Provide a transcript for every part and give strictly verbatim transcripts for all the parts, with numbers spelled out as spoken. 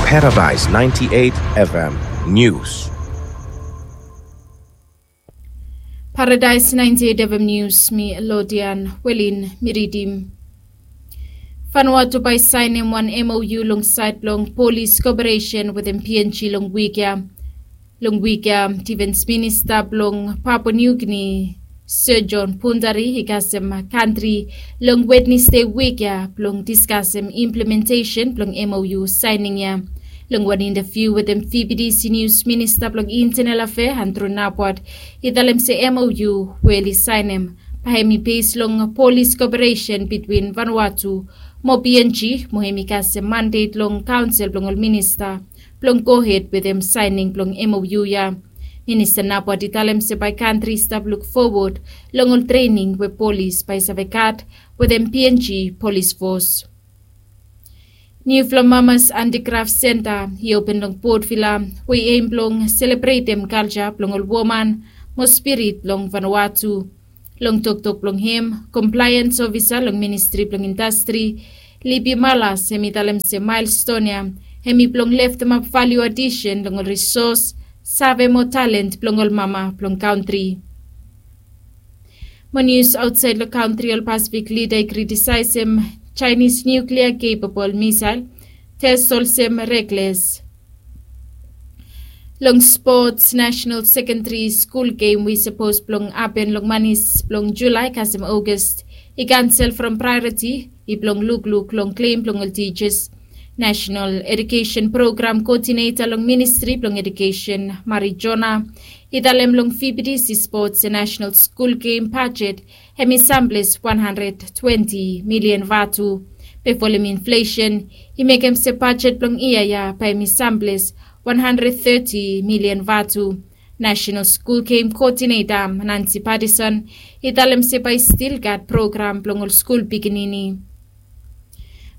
Paradise ninety-eight F M News. Paradise ninety-eight F M News, mi Lodian Welin mi ridim. Vanuatu bae i saenem wan M O U long saed blong polis koperesen wetem P N G long wik ya. Long wik ya, difens minista blong Papua New Guinea, Sir John Pundari, i kasem kantri long Wednesde wik ya blong diskasem implementesen blong M O U saening ya. Long wan intaviu wetem V B T C News, minista blong Internal Afea Andrew Napwat i talem se M O U we oli saenem bae hemi bes long polis koperesen bitwin Vanuatu mo P N G, mo hemi kasem mandet long kaonsel blong ol minista blong gohed wetem saening blong M O U ya. Minista Napwat i talem se bae kantri i stap luk fowod long ol trening we polis bae i save gat wetem P N G polis fos. Niufala Mamas Andikraf Senta i open long Port Vila, we i em blong selebretem kalja blong ol woman mo spirit blong Vanuatu. Long toktok blong hem, komplaens ofisa long Ministri blong Indastri, Libi Malas, hemi talem se maelston ya hemi blong leftemap valiu adisen long ol risos, save mo talen blong ol mama blong kantri. Mo nius aotsaed long kantri, ol Pasifik lida i kritisaesem Chinese nuclear capable missile test olsem reckless. Long sports, national secondary school game we i sapos blong hapen long manis blong Julai kasem August i kansel from priority i blong lukluk long klem blong ol teachers. National Education Program Coordinator long Ministri blong Education, Mari Jona, i talem long V B T C Sports and National School Game budget hemi samples wan handred twenti milian vatu. Be folem inflesen i mekem se bajet blong yia ya bae hemi samples wan handred teti milian vatu. National School Game Coordinator Nancy Patterson i talem se bae i stil gat program blong ol skul pikinini.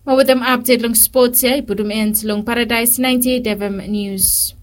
Mo wetem apdet long spots ya i putum end long Paradise ninety-eight F M News.